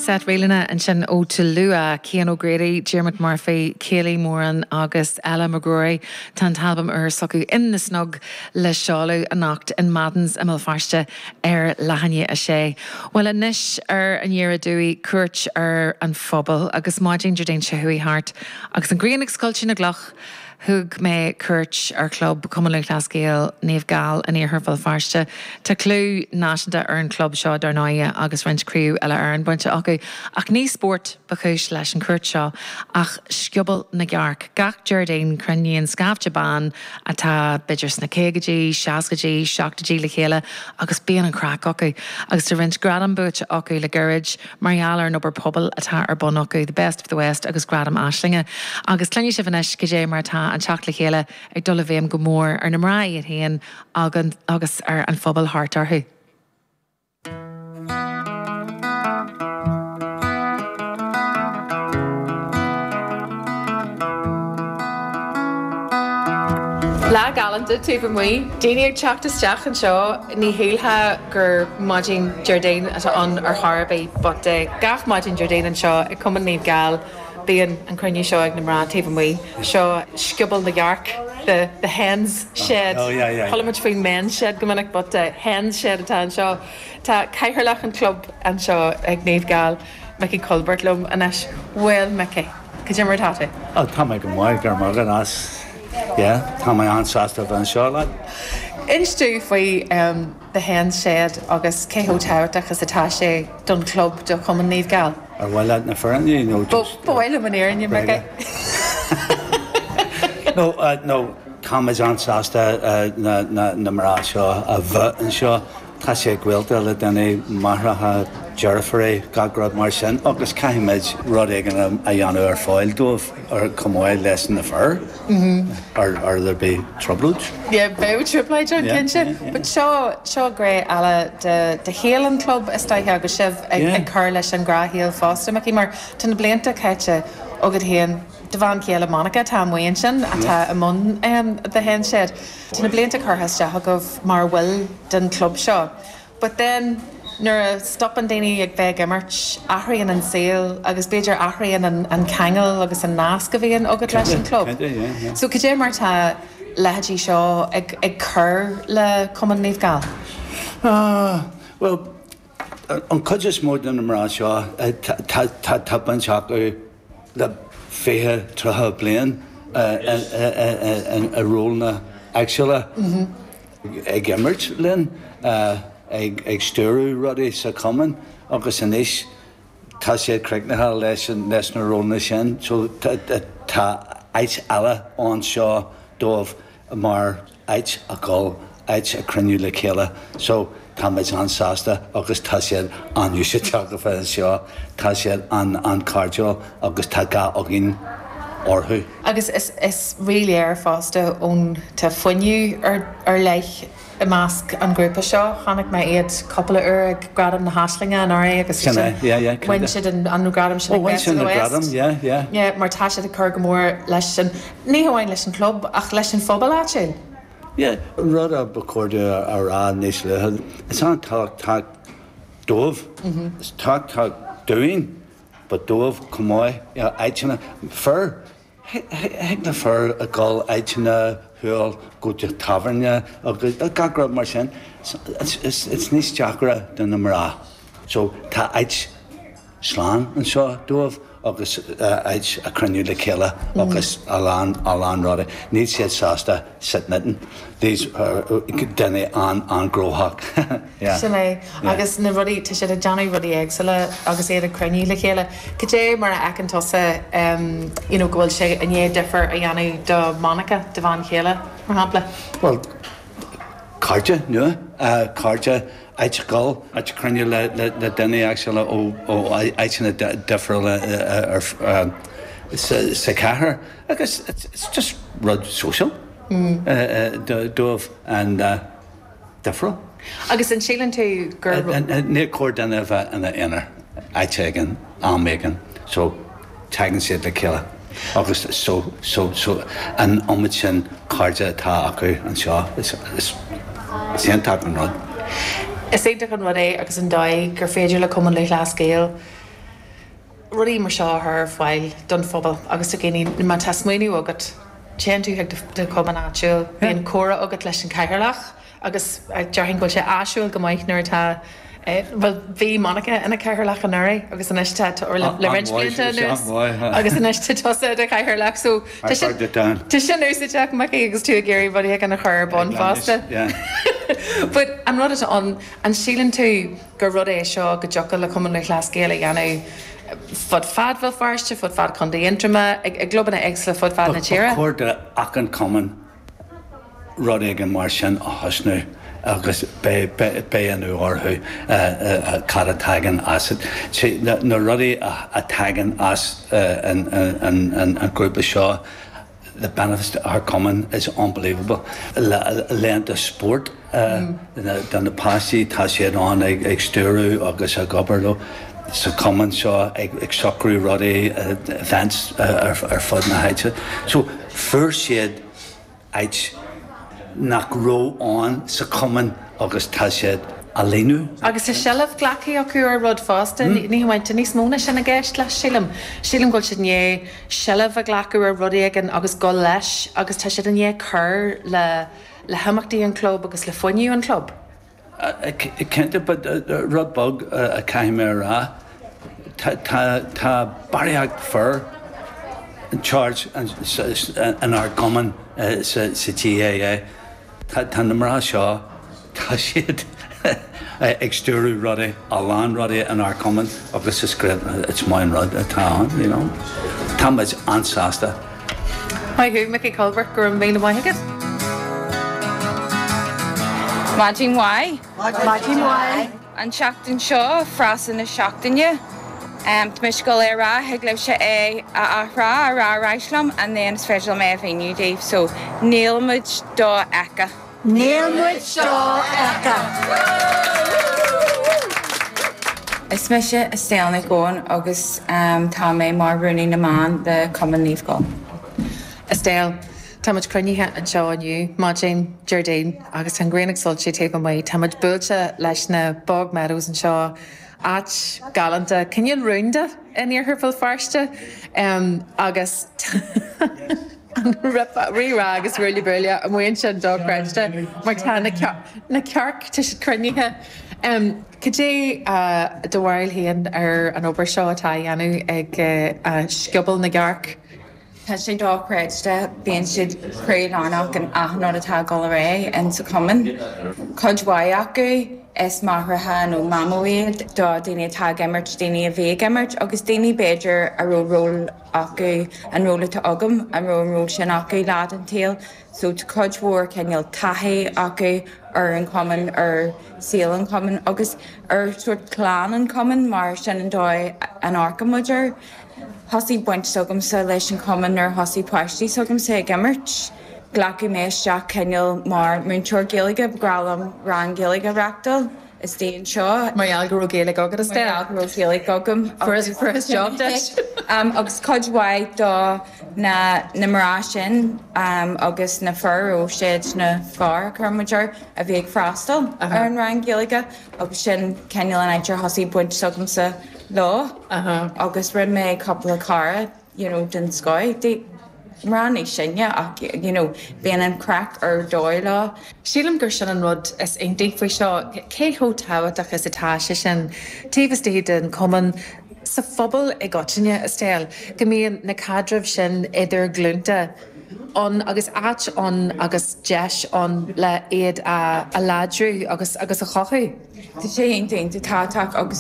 Seit ríleanna ansin ó Tulua, Cian O'Grady, Diarmuid Murphy, Kayleigh Moran agus Ella McGrory. Tá an t-albam úr s'acu In The Snug le seoladh anocht in Madden's i mBéal Feirste ar leath i ndiaidh a sé. Bhuel anois ar Aniar Aduaidh, cuairt ar an phobal agus maidin Déardaoin seo chuaigh thart agus an ghrian ag scoilteadh na gcloch, Thug mé cuairt ar chlub Chumann Lúthchleas Gael Naomh Gall in iarthar Bhéal Feirste. Tá clú náisiúnta ar an chlub seo dar ndóighe agus roinnt Craobh Uile-Éireann bainte acu. Ach ní spórt ba chúis leis an chuairt seo ach Scioból na gCearc. Gach Déardaoin cruinníonn scaifte ban atá b'fhéidir sna caogaidí, seascaidí, seachtóidí le chéile agus bíonn an chraic acu. Agus tá roinnt gradam buaite acu le gairid. mar gheall ar an obair pobail atá ar bun acu, The Best of the West agus Gradam Aislinge. Agus cluinfidh sibh anois cad é mar atá an teacht le chéile ag dul i bhfeidhm go mór ar na mná iad féin agus ar an phobal thart orthu. Lá galánta taobh amuigh, daoine ag teacht isteach anseo, ní shílfeá gur maidin Déardaoin atá ann ar chor ar bith but gach maidin Déardaoin anseo ag Cumann Naomh Gall bíonn an cruinniú seo ag na mná taobh amuigh. Seo Scioból na gCearc, the the hens shed. Oh yeah yeah. Chuala muid faoin men's shed go minic but hens shed atá anseo. Tá cathaoirleach an chlub anseo ag Naomh Gall, Mickey Colbert liom anois. Bhuel Mickey, cad é mar atá tú? Oh tá mé go maith, go raibh maith agat as. Yeah, tá mé an-sásta a bheith anseo leat. Inis domh faoi The Hens Shed agus cé chomh tábhachtach is atá sé don chlub, do Chumann Naomh Gall. Ar mhaith leat na fírinne nó just. Ba mhaith liom an fhírinne, Mickey. No, no, táimid an-sásta na mná seo a bheith anseo. Tá siad gaolta le daoine, máithreacha, deirfiúirí, gach rud mar sin agus caithfimid rud éigin a dhéanamh ar fáil dóibh chomh maith leis na fir or or there'll be trioblóid. Yeah, beidh trioblóid ann cinnte. But seo, seo gné eile de, de shaol an chlub is dóiche agus sibh ag, ag cur leis an ngnáthshaol fosta, Mickey, mar tá na blianta caite agat féin, do bhean chéile Monica atá amuigh ansin atá i mbun The Hens Shed. Tá na blianta curtha isteach agaibh mar bhaill den chlub seo. But then nuair a stopann daoine ag bheith ag imirt, athraíonn an saol agus b'fhéidir athraíonn an an ceangal agus an nasc a bhíonn agat leis an chlub. So cad é mar tá leithéidí seo ag ag cur le Cumann Naomh Gall? Ah, bhuel, an chuid is mó de na mná seo, tá tá tá baint acu le 20, 30 bliain i rólanna éagsúla, ag imirt linn, ag stiúradh rudaí sa chumann agus anois tá siad críochnaithe leis leis na rólanna sin so tá áit eile anseo dóibh mar áit a dhul, áit a cruinniú le chéile. So, táimid an-sásta agus tá siad an-úsáideach a bheith anseo. Tá siad an-an-chairdiúil agus tá gá againn orthu. Agus is is ríléir fosta ón tá fuinneamh ar ar leith i measc an ghrúpa seo. Chonaic mé iad cúpla uair ag Gradaim na hAislinge anuraidh agus Sin é, yeah, yeah, bhain siad an an gradam sin Oh, bhain siad an gradam, yeah, yeah. Yeah, mar tá siad ag cur go mór leis an Ní hamháin leis an chlub, ach leis an phobal áitiúil. Yeah, rud a ba chóir domh a rá níos luaithe, is an-tábhachtach dóibh, is tábhachtach dúinn, but dóibh chomh maith, you know, áiteanna, fir, thig le fir a dhul áiteanna shiúl, go dtí tábhairne agus gach rud mar sin, it's, it's níos deacra do na mná. So tá áit. slán anseo dóibh agus áit a cruinniú le chéile agus a lán, a lán rudaí. Níl siad sásta sit knitting. These are daoine an-an-ghnóthach. Yeah. Sin é. Agus na rudaí, tá siad ag déanamh rudaí éagsúla agus iad ag cruinniú le chéile. Cad é mar a fheiceann tusa you know go bhfuil sé i ndiaidh difear a dhéanamh do Monica, do bhean chéile, mar shampla? Bhuel, cairde nua, cairde, áit a dhul, áit a cruinniú le daoine éagsúla ó áiteanna difriúla sa chathair agus it's just rud social dóibh and difriúil. Agus an síleann tú gur. Níor chóir duine a bheith ina aonar áit éigin, am éigin so tagann siad le chéile agus so so so an iomad sin cairde atá acu anseo is is is iontach an rud. Is iontach an rud é agus an dóigh gur féidir le Cumann Lúthchleas Gael. Rudaí mar seo a chur ar fáil don phobal agus do dhaoine, má tá smaoineamh agat, téann tú chuig do chumann áitiúil, bíonn comhrá agat leis an chathaoirleach agus déarfainn go bhfuil sé áisiúil go maith nuair atá, bhuel bhí Monica ina cathaoirleach anuraidh agus anois tá, le roinnt blianta anuas agus anois tá tusa i do chathaoirleach so tá sin, tá sin úsáideach Micí agus tú ag iarraidh rud éigin a chur ar bun fosta. But an rud atá ann, an síleann tú gur rud é seo go dtiocfadh le Cumann Lúthchleas Gael a dhéanamh fud fad Bhéal Feirste, fud fad Chontae Aontroma, i gclubanna éagsúla fud fad na tíre. Ba chóir d'achan chumann rud éigin mar sin a thosnú agus beidh ionadh orthu cad a tagann as. Na rudaí a tagann as an grúpa seo, the benefits to our cumann is unbelievable. Laethanta spóirt do na páistí, tá siad ann ag stiúradh agus ag obair leo sa chumann seo, ag socrú rudaí, events ar fud na háite. So fuair siad áit nach raibh ann sa chumann agus tá siad á líonadh. Agus tá seilbh glactha acu ar rud fosta, ní hamháin, tá níos mó ná sin i gceist leis, sílim. Sílim go bhfuil siad i ndiaidh seilbh a ghlacadh ar rud éigin agus dul leis agus tá siad i ndiaidh cur le le himeachtaí an chlub agus le fuinneamh an chlub. Cinnte, but rud beag a chaithfidh mé a rá, tá barraíocht fir in charge inár gcumann sa GAA. Tá na mná seo, tá siad ag stiúradh rudaí, a lán rudaí inár gcumann agus is great, it's maith an rud atá ann, you know. Tá muid an-sásta. Maith thú, Mickey Colbert, go raibh míle maith agat. Maidin mhaith. Maidin mhaith. An tseachtain seo, frása na seachtaine. Tá mise ag dul é a rá, thig libhse é a athrá, a rá ar ais liom and then is féidir liom é a mhíniú daoibh. So, níl muid dofheicthe. Níl muid dofheicthe. Is mise Estelle Nic Eoin agus tá mé mar Rúnaí na mBan le Cumann Naomh Gall. Estelle, Tá muid cruinnithe anseo inniu, maidin Déardaoin, agus tá an ghrian ag soilsiú taobh amuigh. Tá muid buailte leis na Bog Meadows anseo, áit galánta, cineál rúnda in iarthar Bhéal Feirste, agus tá an rí-rá agus ruaille buaille amuigh ansin dochreidte mar tá na cearc, tá siad cruinnithe. Cad é do bharúil féin ar an obair seo atá á dhéanamh ag scioból na gcearc? Tá sé dochreidte, bíonn siad croílárnach in achan rud atá ag dul ar aghaidh in sa chumann. Cuid mhaith acu is máithreacha nó mamó iad do daoine atá ag imirt, daoine a bhí ag imirt agus daoine b'fhéidir a raibh ról acu, an ról atá agam, an raibh an ról sin acu lá den tsaol. So tá cuid mhór cineál taithí acu ar an chumann, ar saol an chumainn agus ar sórt clann an chumainn mar sin an dóigh a n-amharcann muid air. Thosaigh baint s'agamsa leis an chumann nuair a thosaigh páistí s'agamsa ag imirt. Glacadh mé isteach cineál mar múinteoir Gaeilge, ba ghnách liom rang Gaeilge a reachtáil istigh anseo. Mar gheall go raibh Gaeilge agat, Estelle? Mar gheall go raibh Gaeilge agam. Fuaireas job duit. Agus cuid mhaith do na na mná sin agus na fir, ó siad na fir a chuir muid air, a bhí ag freastal ar an rang Gaeilge agus sin cineál an áit ar thosaigh baint s'agamsa leo agus rinne mé cúpla cara you know den scoth, mná níos sine ach you know bíonn an craic ar dóigh leo. Sílim gur sin an rud is iontaí faoi seo, cé chomh tábhachtach is atá sé sin taobh istigh den chumann, sa phobal i gcoitinne, Estelle, go mbíonn na caidrimh sin idir glúnta ann agus áit ann agus deis ann le iad a láidriú agus agus a chothú. Tá sé iontach iontach tábhachtach agus.